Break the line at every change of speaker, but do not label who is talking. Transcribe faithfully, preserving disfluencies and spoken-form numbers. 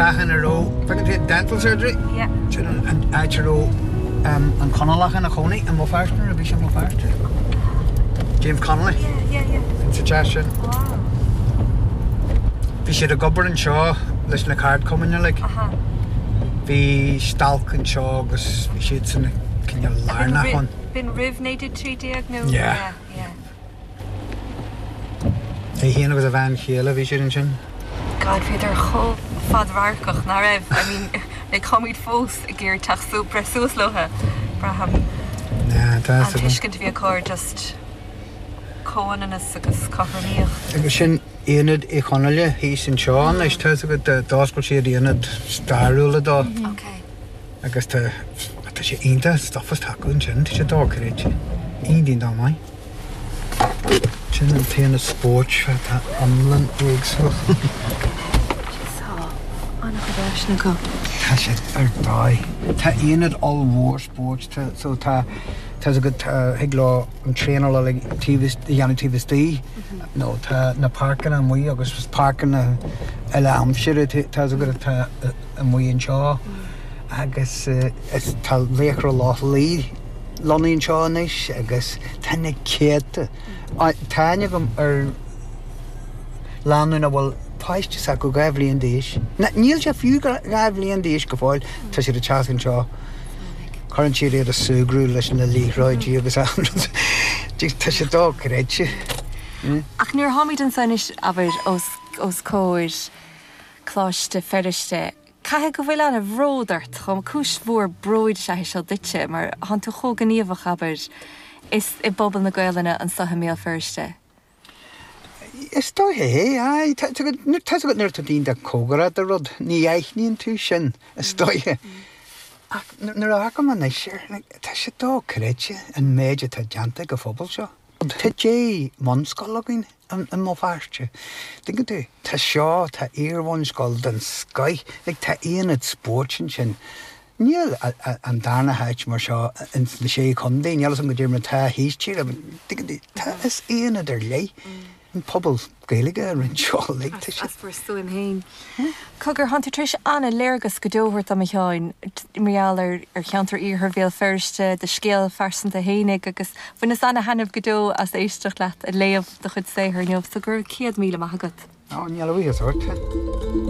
teach ina raibh bhfeiceann tú dental surgery?
Yeah.
Sin an áit a raibh an Conallach ina chónaí i mBéal Feirste nuair a bhí sé i mBéal Feirste. James Connolly.
Yeah, yeah, yeah.
Sa teach sin.
Wow.
Bhí siad ag obair anseo leis na ceardchumainn uilig.
Aha.
Bhí stailc anseo agus bhí siad san cineál lárnach ann.
B'in roimh naoi déag trí déag nó?
Yeah.
Yeah, yeah.
É féin agus a bhean chéile bhí siad ansin.
God, bhíodar chomh fadradharcach nach raibh I mean like táimid fós ag iarraidh teacht su breith suas leo braithim.
Yeah, tá
An tuiscint a bhí acu ar just comhionannas agus cothromaíocht.
Agus sin Ionad Uí Chonghaile thíos anseo anois tá agat d'oscail siad ionad stairiúla dó.
Okay.
Agus tá tá sé iontach stuff is acu ansin, tá sé dochreidte. Iontach maith. Sin an t-aonad spóirt atá iomlán éagsúil.
Tá an-chuid áiseanna acu.
Tá sé ar dóigh. Tá aonad ollmhór spóirt tá so tá tá agat thig leo an traenáil uilig taobh a dhéanamh taobh istigh nó tá na páirceanna amuigh agus páirceanna eile aimsire tá agat atá amuigh anseo agus is tá Laochra Loch Lao lonnaithe anseo anois agus tá na céadta. Tá aithne agam ar lánúin a bhfuil páiste s'acu dhá bhliain d'aois. Níl sé fiú dhá bhliain d'aois go fóill tá siad ag teacht anseo. Cuireann siad iad ag súgradh leis na liathróidí agus tá sé dochreidte.
Ach nuair tháimid anseo anois abair os os comhair Coláiste Feirste, Caithfidh go bhfuil an-bhród ort chomh cúis mhór bróid is ea seo duitse mar thánn tú chomh gníomhach abair is i bpobal na Gaelainne anseo i mBéal Feirste.
Is dóiche é tá agat nuair atá daoine cóngarach do rud, ní aithníonn tú sin is dóiche. Ach nuair a amharcaim anois air, tá sé dochreidte an méid atá déanta ag an phobal seo. Tá deich mbunscoil againn i mBéal Feirste. Tuigeann tú tá seo tá iarbhunscoil den scoith, like tá aonad spóirt ansin. Níl an darna háit mar seo in na sé chontae, níl an go dtí mar tá thíos tíre, tuigeann tú tá is aonad ar leith an pobal Gaeilge a rinne seo like tá sé.
As bhur stuaim féin. Cogar thánn tú tar éis an-léargas go deo a thabhairt dom a Sheáin mar gheall ar ar cheantar iarthar Bhéal Feirste, do scéal phearsanta fhéinig agus bhaineas an-taitneamh go deo as éisteacht leat ag léamh do chuid saothair inniu, so go raibh céad míle maith agat.
Á níl a bhuíochas ort.